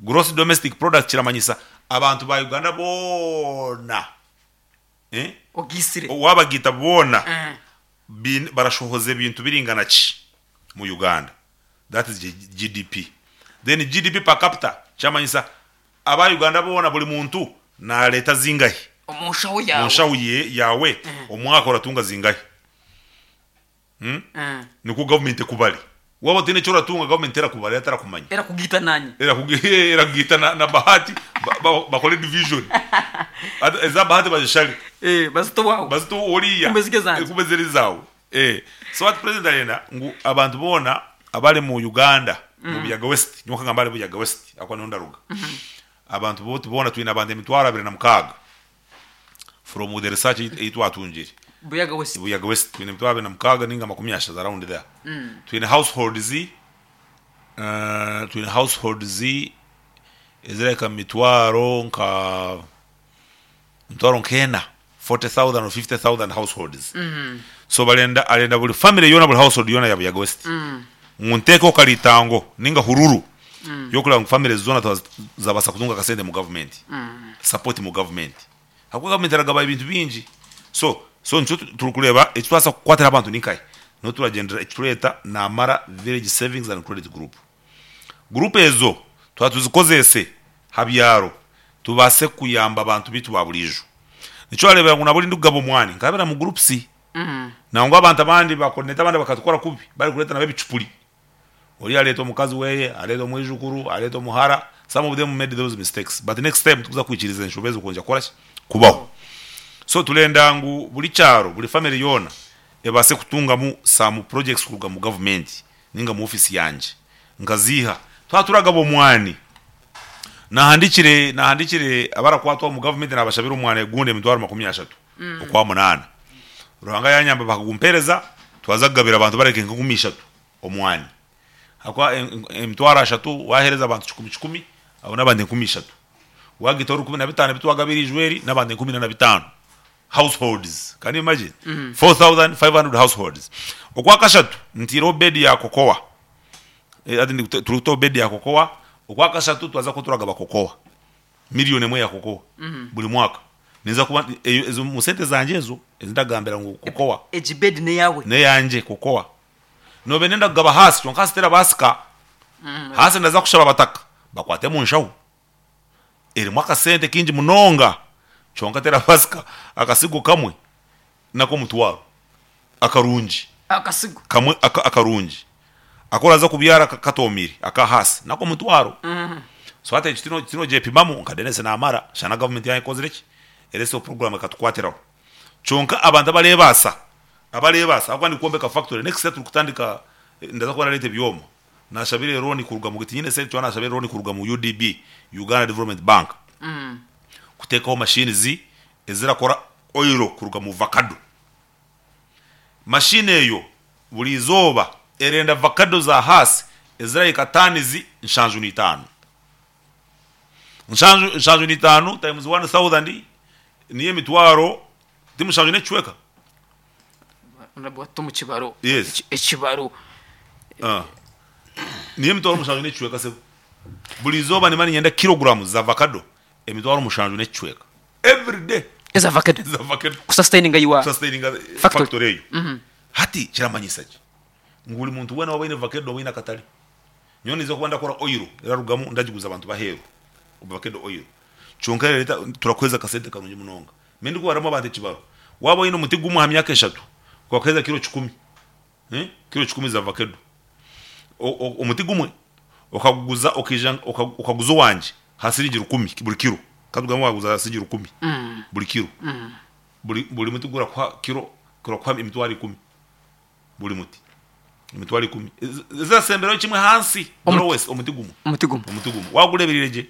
Gross domestic product kiramanyisa abantu ba Uganda boona eh, Ogiisire. wabagiita boona Eh. biine barashohoza ebintu biringana ki mu Uganda. That is GDP. Then GDP per capita kyamanyisa aba Uganda boona buri muntu nareeta zingahi Omu nshaho mu yaawe. nshaho ye yaawe omwaka oratunga zingahi. Hmm? Eh. Nikwo gavumenti ekubare. Waaba otaine eki oratunga gavumenti terakubarira terakumanya. Erakugiita naanye. Erakugiita na Bahati bakore division. Eza Bahati bazishare. Eh, bazite owaawe. Bazite oriya. Kumbe ziri ezangye. Kumbe ziri ezaawe. Eh. So hati president arenda ngu abantu boona abari mu Uganda, mu Buyaga West, nyowe nkagamba ahari Buyaga West ahakuba niho ndaruga. Abantu boona twine abantu 26,000 from the research ei twatungire. Buyaga West. Buyaga West twine 26,000 ninga 30 around there. Twine households twine households ezirahika mu mitwaro nka emitwaro nk'ena 40,000 or 50,000 households. So barenda arenda buri family yoona buri household yoona ya Buyaga West ngu nteekeho karitango ninga hururu y'okureeba ngu family zoona zabaasa kutunga akasente mu gavumenti, support mu gavumenti. Ahabw'okuba gavumenti eragaba ebintu bingi. So so nikyo turikureeba eki twabaasa kukwatira abantu ni nkahi? Niho turagyendera eki tureeta Namara Village Savings and Credit Group. Guruupu ezo twaba tuzikozese ha byaro tubaase kuyamba abantu baitu ba buriijo. Nikyo orareebera ngu naburi ndikugaba omwani nkabira mu groups. Nangwa abantu abandi ba coordinator abandi bakatukora kubi barikureeta nabo ebicupuri. Oriya areeta omukazi weye, areeta omwijukuru, areeta omuhara, some of them made those mistakes but next time tikuza kwikiriza enshobe ezo kwongyera kukora ki? Kubaho. So turenda ngu buri kyaro, buri family yoona ebaase kutungamu some projects kuruga mu gavumenti ninga mu office yangye nkaziiha. Twaba turagaba omwani, nahandikire nahandikire abarakwatwaho omu gavumenti nabashabira omwani ogundi emitwaro 30 Okwamunaana. Ruhanga yanyamba bakagumpereza twaza kugabira abantu barahika nka 30 omwani. Ahakuba emitwaro ashatu wahereza abantu kikumi kikumi abo n'abantu 3000. Wagitaho rukumi na bitaano ebi twagabira eijweri n'abantu 45,000 households. Can you imagine? 4500 households. Okwakashatu ntiireho bed ya cocoa. Hati turikutaho bed ya cocoa. Okwakashatu twaza kuba turagaba cocoa. Million emwe ya cocoa buri mwaka. Ninza kuba ezo omu sente zangye ezo ezi ndagambira ngu cocoa. Egi bed n'eyaawe? N'eyangye cocoa. Noobe ndenda kugaba haasi kwonka haasi terabaasika. Haasi ndaza kushaba abataka bakwate omu nshaho. Erimu akasente kaingi munonga kyonka terabaasika. Akasigo kamwe n'ak'omutwaro akarungi. Akasigo. Kamwe akarungi aku oraza kubyara katoomiire aka haasi n'ak'omutwaro. So hati ekyo tinogyepimamu nka Denis naamara shana gavumenti yaaba ekozire ki? Eretsireho puroguraamu ekatukwatiraho. Kyonka abantu abareebaasa Abareebaasa ahabw'okuba ndikwombeka factory next year turikutandika ndaza kuba nareeta ebyoma. Nashabire loan kuruga mu tinyine sente kyonka nashabire loan kuruga mu UDB, Uganda Development Bank, kuteekaho machines ezirakora oil kuruga mu vacado. Machine eyo buri izooba erenda vacado za Hass ezirahika tons 75. 75 times 1000 niyo emitwaro Ti mushanju n'ekicweka? Wata omu kibaro. Yes. Ekibaro. Ah. Niyo emitwaro mushanju n'ekicweka sebo. Buri izooba nimba niinyenda kilograms za avocado emitwaro mushanju n'ekicweka. Every day. Eza avocado. Eza avocado. Kusustaininga your Kusustaininga factory. factory eyo. Hati kiramanyisa ki? Ngu buri muntu weena waaba aine avocado oba aine akatare. Nyowe ninza kuba ndakora oil erarugamu ndagiguza abantu b'aheeru. Avocado oil. Kyonka erareeta turakuheereza akasente karungi munonga. Mbwenu ndikubaramu abantu ekibaro, waaba oine omuti gumwe aha myaka eshatu, gwakuheereza kiro kikumi, kiro kikumi za vakedo. Omuti gumwe okaguguza okaija okaguza owangye aha siringi rukumi buri kiro, katugambe waguza aha siringi rukumi buri kiro, buri muti gurakuha kiro, gurakuha emitwaro ikumi. Buri muti emitwaro ikumi ezirasemberayo kimwe hansi the lowest omuti gumwe. Omuti gumwe. Omuti gumwe wagureebereire gye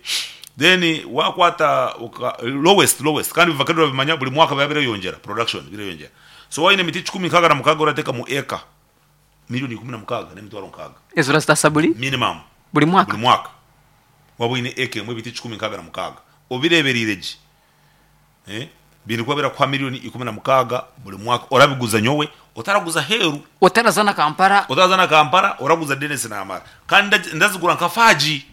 then wakwata oka lowest lowest kandi avocado orabimanya buri mwaka biba bireyongyera production bireyongyera so waaba oine emiti kikumi nkaaga na mukaaga orateekamu eka milioni ikumi na mukaaga n'emitwaro nkaaga. Ezo orazitaasa buri? Minimum. Buri mwaka? Buri mwaka waaba oine eka emwe ebiti 166 obireebereire gye. Biine kuba birakuha milioni 16 buri mwaka orabiguza nyowe otaraguza aheeru. Otaraza na Kampala. Otaraza na Kampala oraguza Denis Namara. Kandi ndazigura nka faagi.